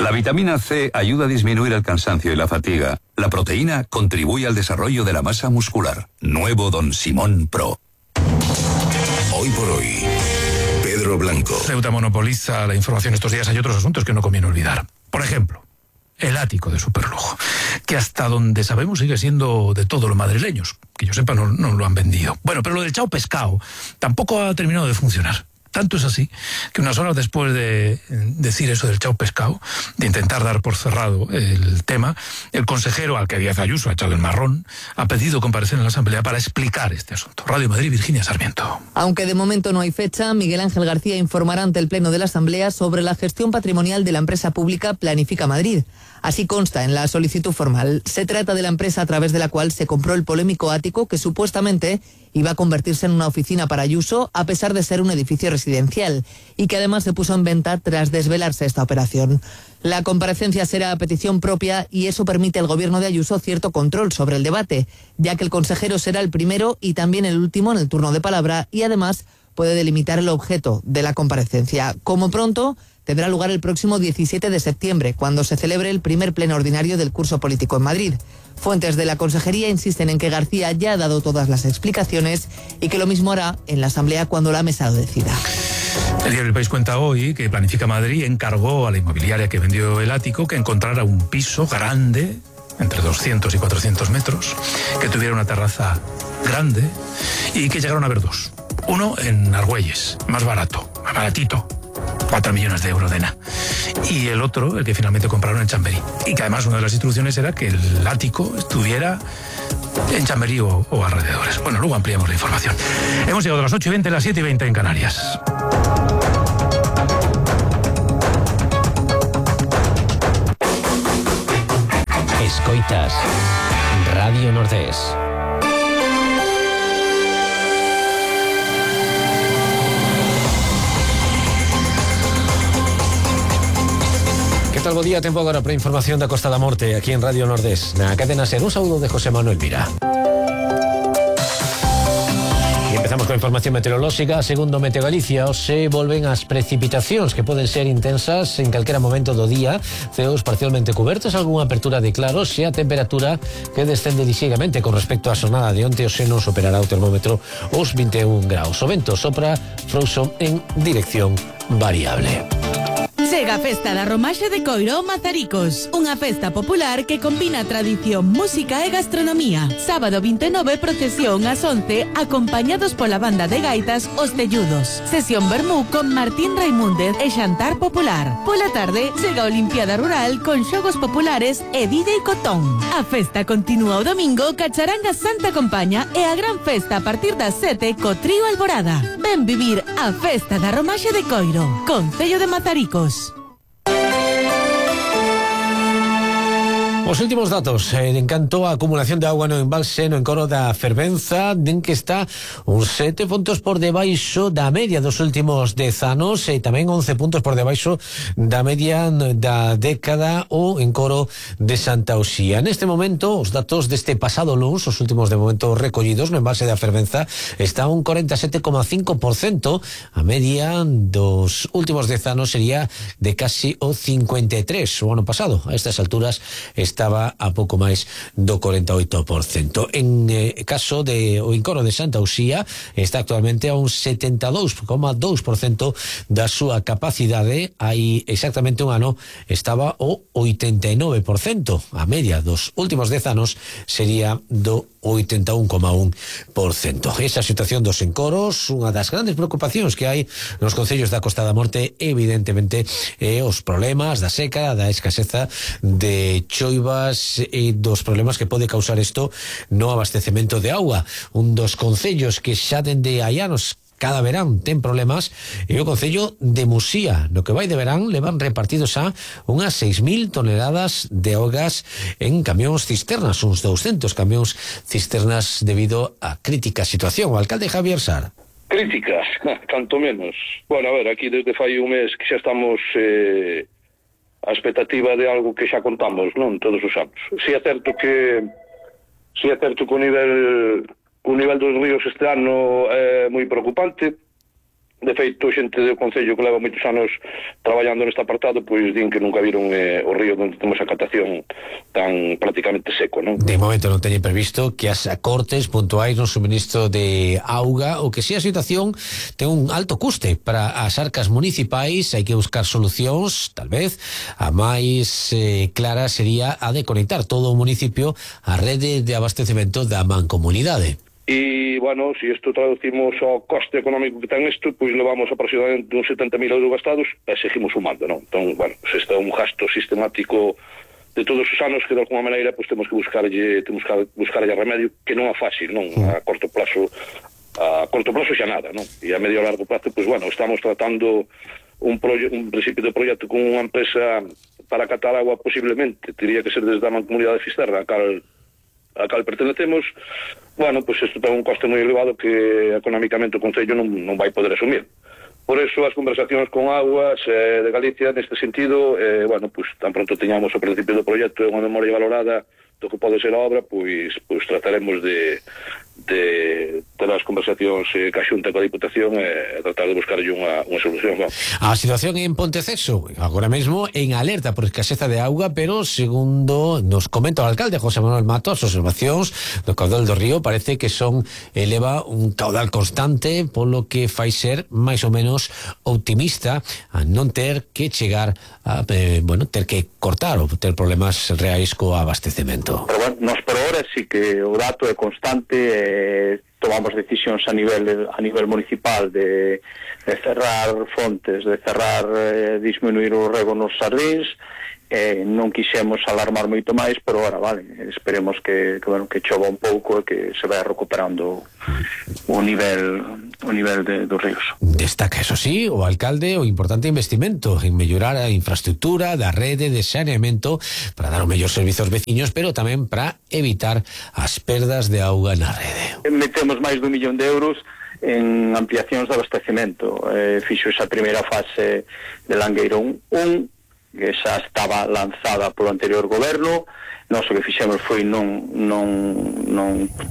La vitamina C ayuda a disminuir el cansancio y la fatiga. La proteína contribuye al desarrollo de la masa muscular. Nuevo Don Simón Pro. Hoy por hoy, Pedro Blanco. Ceuta monopoliza la información estos días. Hay otros asuntos que no conviene olvidar. Por ejemplo, el ático de superlujo, que hasta donde sabemos sigue siendo de todos los madrileños. Que yo sepa, no lo han vendido. Bueno, pero lo del Chao Pescado tampoco ha terminado de funcionar. Tanto es así que unas horas después de decir eso del Chao Pescado, de intentar dar por cerrado el tema, el consejero al que Díaz Ayuso ha echado el marrón ha pedido comparecer en la Asamblea para explicar este asunto. Radio Madrid, Virginia Sarmiento. Aunque de momento no hay fecha, Miguel Ángel García informará ante el Pleno de la Asamblea sobre la gestión patrimonial de la empresa pública Planifica Madrid. Así consta en la solicitud formal. Se trata de la empresa a través de la cual se compró el polémico ático que supuestamente iba a convertirse en una oficina para Ayuso a pesar de ser un edificio residencial y que además se puso en venta tras desvelarse esta operación. La comparecencia será a petición propia y eso permite al gobierno de Ayuso cierto control sobre el debate, ya que el consejero será el primero y también el último en el turno de palabra y además puede delimitar el objeto de la comparecencia. Como pronto, tendrá lugar el próximo 17 de septiembre, cuando se celebre el primer pleno ordinario del curso político en Madrid. Fuentes de la Consejería insisten en que García ya ha dado todas las explicaciones y que lo mismo hará en la Asamblea cuando la mesa lo decida. El diario El País cuenta hoy que Planifica Madrid encargó a la inmobiliaria que vendió el ático que encontrara un piso grande, entre 200 y 400 metros, que tuviera una terraza grande y que llegaron a ver dos. Uno en Argüelles, más barato, más baratito, 4 millones de euros de nada. Y el otro, el que finalmente compraron en Chamberí. Y que además una de las instrucciones era que el ático estuviera en Chamberí o alrededores. Bueno, luego ampliamos la información. Hemos llegado a las 8:20, las 7:20 en Canarias. Escoitas Radio Nordés. Que tal, bo día, tempo agora para información da Costa da Morte aquí en Radio Nordés, na cadena SER. Un saúdo de José Manuel Vira. E empezamos coa información meteorolóxica. Segundo Meteo Galicia, hoxe volven as precipitacións que poden ser intensas en calquera momento do día, ceos parcialmente cubertos, algunha apertura de claros e a temperatura que descende lixeiramente con respecto á xornada de onte. Hoxe non superará o termómetro os 21 graus. O vento sopra frouxo en dirección variable. Chega a Festa da Romaxe de Coiro Mazaricos, unha festa popular que combina tradición, música e gastronomía. Sábado 29, procesión ás 11, acompañados pola banda de gaitas Os Telludos. Sesión vermú con Martín Raimúndez e xantar popular. Pola tarde, chega a Olimpiada Rural con xogos populares e DJ Cotón. A festa continúa o domingo ca charanga Santa Compaña e a gran festa a partir das 7 co trío Alborada. Ven vivir a Festa da Romaxe de Coiro, Concello de Mazaricos. Os últimos datos en canto a acumulación de agua no embalse no encoro da Fervenza, den que está uns 7 puntos por debaixo da media dos últimos 10 anos e tamén 11 puntos por debaixo da media da década o encoro de Santa Uxía. Neste momento, os datos deste pasado luns, os últimos de momento recollidos no embalse da Fervenza, está un 47,5%, a media dos últimos 10 anos sería de casi o 53%. O ano pasado, a estas alturas, estaba a pouco máis do 48%. En caso de o encoro de Santa Uxía, está actualmente a un 72,2% da súa capacidade. Hai exactamente un ano estaba o 89%. A media dos últimos 10 anos sería do 81,1%. Esa situación dos encoros, unha das grandes preocupacións que hai nos concellos da Costa da Morte, evidentemente, os problemas da seca, da escaseza de choiva e dos problemas que pode causar isto no abastecemento de auga. Un dos concellos que xa dende hai anos cada verán ten problemas e o concello de Muxía. No que vai de verán levan repartidos a unhas 6.000 toneladas de augas en camións cisternas, uns 200 camións cisternas debido á crítica situación. O alcalde Javier Sar. Críticas, canto menos. Bueno, a ver, aquí desde fai un mes que xa estamos a expectativa de algo que xa contamos, non, todos os anos. Si é certo que o nivel dos ríos este ano é moi preocupante, De feito, xente do Concello que leva moitos anos traballando neste apartado, pois din que nunca viron o río onde temos a catación tan prácticamente seco, non? De momento non teñen previsto que as acortes puntuais no suministro de auga, o que si a situación ten un alto custe para as arcas municipais. Hai que buscar solucións, tal vez a máis clara sería a de conectar todo o municipio á rede de abastecemento da mancomunidade. E, bueno, se isto traducimos ao coste económico que ten isto, pois levamos aproximadamente uns 70.000 euros gastados e seguimos sumando, non? Entón, bueno, se está un gasto sistemático de todos os anos que de alguma maneira pois temos que buscarlle remedio, que non é fácil, non? A corto plazo xa nada, non? E a medio e largo plazo, pois, bueno, estamos tratando un principio de proxecto con unha empresa para catar agua, posiblemente, teria que ser desde a Mancomunidade de Fisterra, a cal pertenecemos. Bueno, pois isto ten un coste moi elevado que económicamente o Concello non vai poder asumir. Por eso as conversacións con Aguas de Galicia neste sentido, bueno, pois tan pronto teñamos o principio do proxecto e unha memoria valorada do que pode ser a obra, pois trataremos de ter as conversacións ca Xunta coa Diputación e tratar de buscarlle unha solución. ¿No? A situación en Ponteceso agora mesmo en alerta por escaseza de auga, pero segundo nos comenta o alcalde José Manuel Mato, as observacións do caudal do río parece que eleva un caudal constante, polo que fai ser máis ou menos optimista a non ter que chegar a ter que cortar ou ter problemas reais co abastecemento. Pero bueno, nos por ahora sí que o dato é constante. Tomamos decisións a nivel municipal de cerrar fontes, de disminuir o rego nos sardíns. Non quixemos alarmar moito máis, pero ahora, vale, esperemos que chova un pouco e que se vai recuperando o nivel dos ríos. Destaca, eso sí, o alcalde o importante investimento en mellorar a infraestructura da rede de saneamento para dar o mellor servizo aos veciños, pero tamén para evitar as perdas de auga na rede. Metemos máis de 1 millón de euros en ampliacións de abastecemento. Fixo esa primeira fase de Langueirón 1, que xa estaba lanzada polo anterior goberno. Nós o que fixemos foi non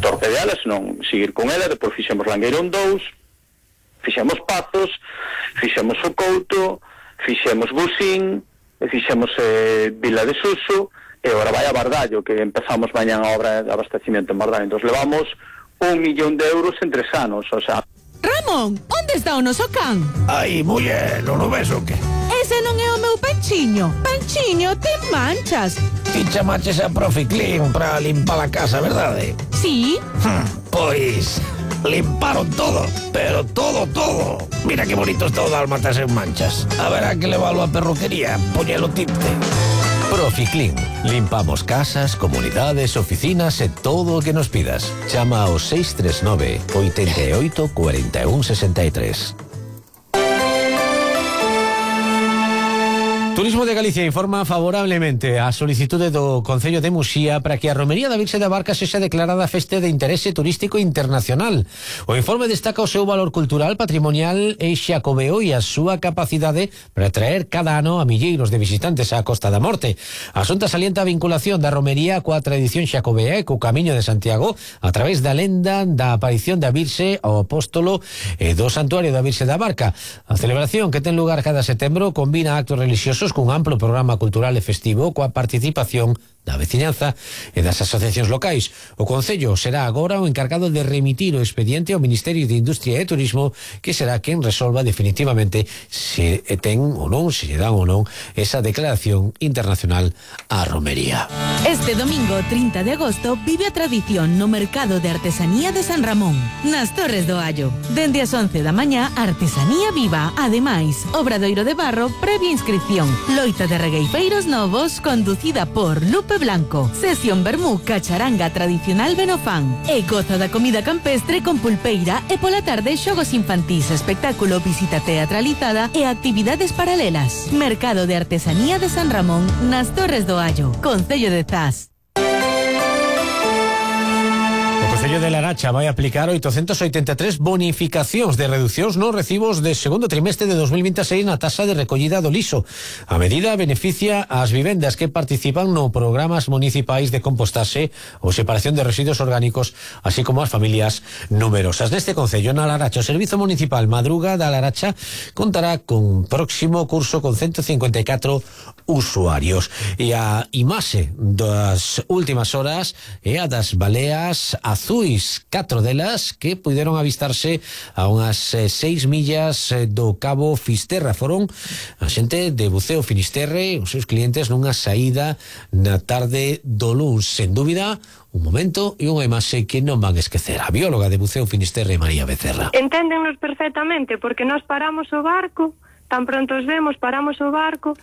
torpedeala, senón seguir con ela. Depois fixemos Langueirón 2, fixemos Pazos, fixemos o Couto, fixemos Busín, fixemos Vila de Suso, e agora vai a Bardallo, que empezamos mañán a obra de abastecimiento en Bardallo. Entón levamos 1 millón de euros en 3 anos, o sea... Ramón, onde está o noso can? Ai, muller, non o ves o que? Ese non é o meu Panchiño. Panchiño, ten manchas. Ti chamaches a Profi Clean para limpar a casa, verdade? Sí. Pois limparon todo, pero todo. Mira que bonito está o dálmatas en manchas. Haberá que leválo a perruquería, poñelo tinte. Profi Clean. Limpamos casas, comunidades, oficinas e todo o que nos pidas. Chama ao 639 88 41 63. Turismo de Galicia informa favorablemente a solicitude do Concello de Muxía para que a Romería da Virxe da Barca sexa declarada festa de interese turístico internacional. O informe destaca o seu valor cultural, patrimonial e xacobeo e a súa capacidade para atraer cada ano a milleiros de visitantes á Costa da Morte. A Xunta salienta a vinculación da Romería coa tradición xacobea e co Camiño de Santiago a través da lenda da aparición da Virxe ao Apóstolo e do Santuario da Virxe da Barca. A celebración, que ten lugar cada setembro, combina actos religiosos cun amplo programa cultural e festivo coa participación da veciñanza e das asociacións locais. O Concello será agora o encargado de remitir o expediente ao Ministerio de Industria e Turismo, que será quen resolva definitivamente se ten ou non, se lle dan ou non esa declaración internacional á romería. Este domingo 30 de agosto vive a tradición no Mercado de Artesanía de San Ramón, nas Torres do Allo. Dende as 11 da mañá, artesanía viva. Ademais, obradoiro de barro previa inscripción. Loita de regueifeiros novos conducida por Lupe Blanco. Sesión vermú cacharanga tradicional Benofán. E goza da comida campestre con pulpeira e pola tarde xogos infantís, espectáculo, visita teatralizada e actividades paralelas. Mercado de Artesanía de San Ramón nas Torres do Allo, Concello de Zas. O Concello de Laracha vai aplicar 883 bonificacións de reducións nos recibos de segundo trimestre de 2026 na taxa de recollida do lixo. A medida beneficia as vivendas que participan no programas municipais de compostaxe ou separación de residuos orgánicos, así como as familias numerosas. Neste concello, na Laracha, o Servizo Municipal Madruga da Laracha contará con próximo curso con 154 usuarios. E a imaxe das últimas horas é a das baleas azuis, 4 delas que puderon avistarse a unhas 6 millas do Cabo Fisterra. Foron a xente de Buceo Finisterre, os seus clientes, nunha saída na tarde do luns. Sen dúbida, un momento e unha imaxe que non van esquecer. A bióloga de Buceo Finisterre, María Becerra. Enténdennos perfectamente, porque nós paramos o barco, tan pronto os vemos, paramos o barco,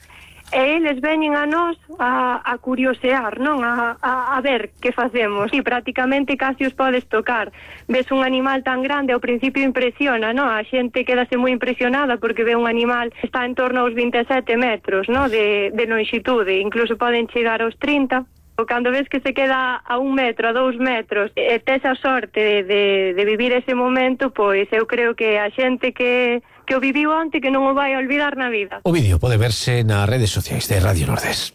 e eles veñen a nós a curiosear, non? A ver que facemos. E prácticamente casi os podes tocar. Ves un animal tan grande, ao principio impresiona, non? A xente quedase moi impresionada porque ve un animal que está en torno aos 27 metros, non? De lonxitude, incluso poden chegar aos 30. Cando ves que se queda a 1 metro, a 2 metros, e tes a sorte de vivir ese momento, pois eu creo que a xente que o viviu onte que non o vai a olvidar na vida. O vídeo pode verse nas redes sociais de Radio Nordés.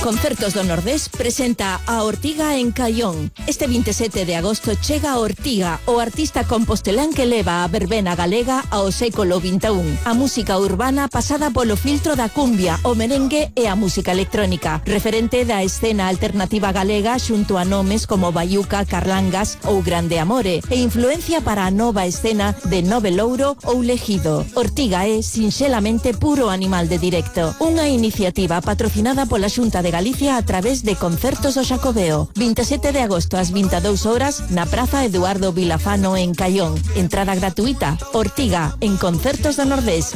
Concertos do Nordés presenta a Ortiga en Caión. Este 27 de agosto chega a Ortiga, o artista compostelán que leva a verbena galega ao século XXI. A música urbana pasada polo filtro da cumbia, o merengue e a música electrónica. Referente da escena alternativa galega xunto a nomes como Baiuca, Carlangas ou Grande Amore, e influencia para a nova escena de Nove Louro ou Legido. Ortiga é sinxelamente puro animal de directo. Unha iniciativa patrocinada pola Xunta de Galicia a través de Concertos do Xacobeo. 27 de agosto ás 22 horas na Praza Eduardo Vilafano en Caión. Entrada gratuita. Ortiga en Concertos do Nordés.